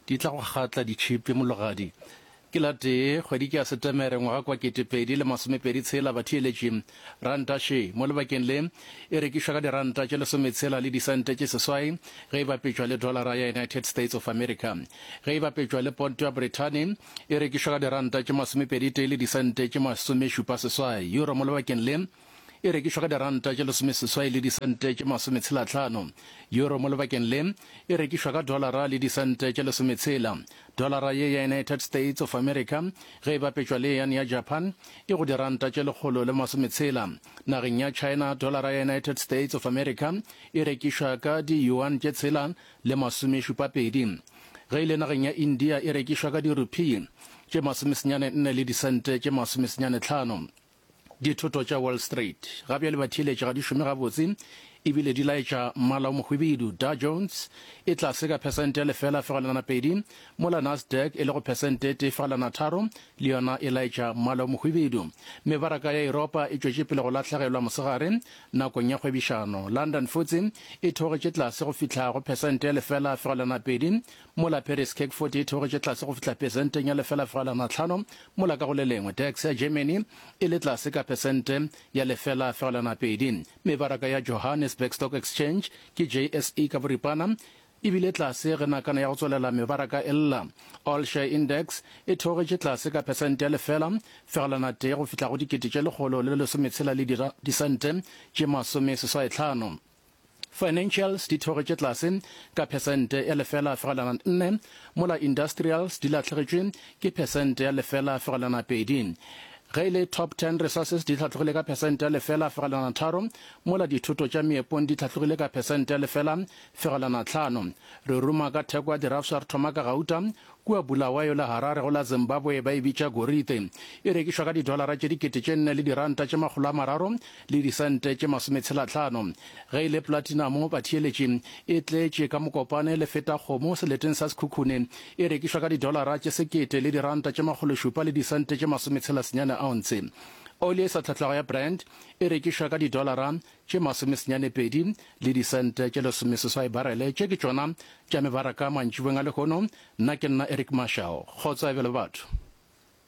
Di tla go kgatla ditšhipi mologadi. Ke la tee, kgwedi ke ya Setemere, ngwaga kwa 2026, batheeletši. Ranta še, mo lebakeng le, e rekišwa ka diranta tše lesometshela le disente tše seswai ge e bapetšwa le dolara ya United States of America. Ge e bapetšwa le ponto ya Brithani, e rekišwa ka diranta tše masomepeditee le disente tše masomešupa seswai. Euro mo lebakeng le, e rekišwa ka diranta tše lesomeseswai le disente tše masometshelahlano. Euro mo lebakeng le e rekišwa ka dolara le disente tše lesometshela. Dolara ye ya United States of America ge e bapetšwa le yane ya Japan e go diranta tše 160. Nageng ya China dolara ya United States of America e rekišwa ka di-yuan tše tshela le masomešupapedi. Ge e le nageng ya India e rekišwa ka di-rupee tše masomesenyane nne le disente tše masomesenyane tlhano. Dithoto tša Wall Street ga bjale batheeletši ga di šome gabotse e bile di laetša mmala o mohwibidu. Dow Jones e tlase ka phesente ya 0.2, mola Nasdaq e le go phesente e 1.3 le yona e laetša mmala o mohwibidu. Mebaraka ya Yuropa e tšwetše pele go lahlegelwa mosegare nakong ya kgwebišano. London FTSE e theogetše tlase go fihla go phesente ya 0.2, mola Paris CAC 40 e theogetše tlase go fihla phesenteng ya 0.5, mola ka go le lengwe DAX ya Germany e le tlase ka phesente ya 0.2. Mebaraka ya Johannesburg Stock Exchange ke JSE ka boripana e bile tlase ge nakana ya go tswelela mebaraka e lla. All Share Index e theogetše tlase ka phesente ya 0.1 go fihla go 1,160 le disente tše 85. Financials di theogetše tlase ka phesente ya 0.4, mola Industrials di lahlegetšwe ke phesente ya 0.2. Ge e le Top Ten Resources di hlatlogile ka phesente ya 0.3, mola dithoto tša meepong di hlatlogile ka phesente ya 0.5. Re ruma ka theko ya dirafša re thoma ka gauta Kua Bulawayo le Harare go la Zimbabwe ba e bitša gorite. E rekišwa ka didolara tše 4000 le diranta tše 300 le disente tše masometshelahlano. Ge e le platinamo, batheeletši, e tletše ka mokopane le feta kgomo seleteng sa Sekhukhune. E rekišwa ka didolara tše sekete le diranta tše makgološupa le disente tše masometshelasenyane ounce. Oli e sa tlhatlwago ya Brent e rekišwa ka didolara tše masomesenyane-pedi le disente tše lesomeseswai barele. Tše ke tšona tša mebaraka mantšiboeng a lehono. Nna ke nna Eric Mashau. Kgotso ya bjalo batho.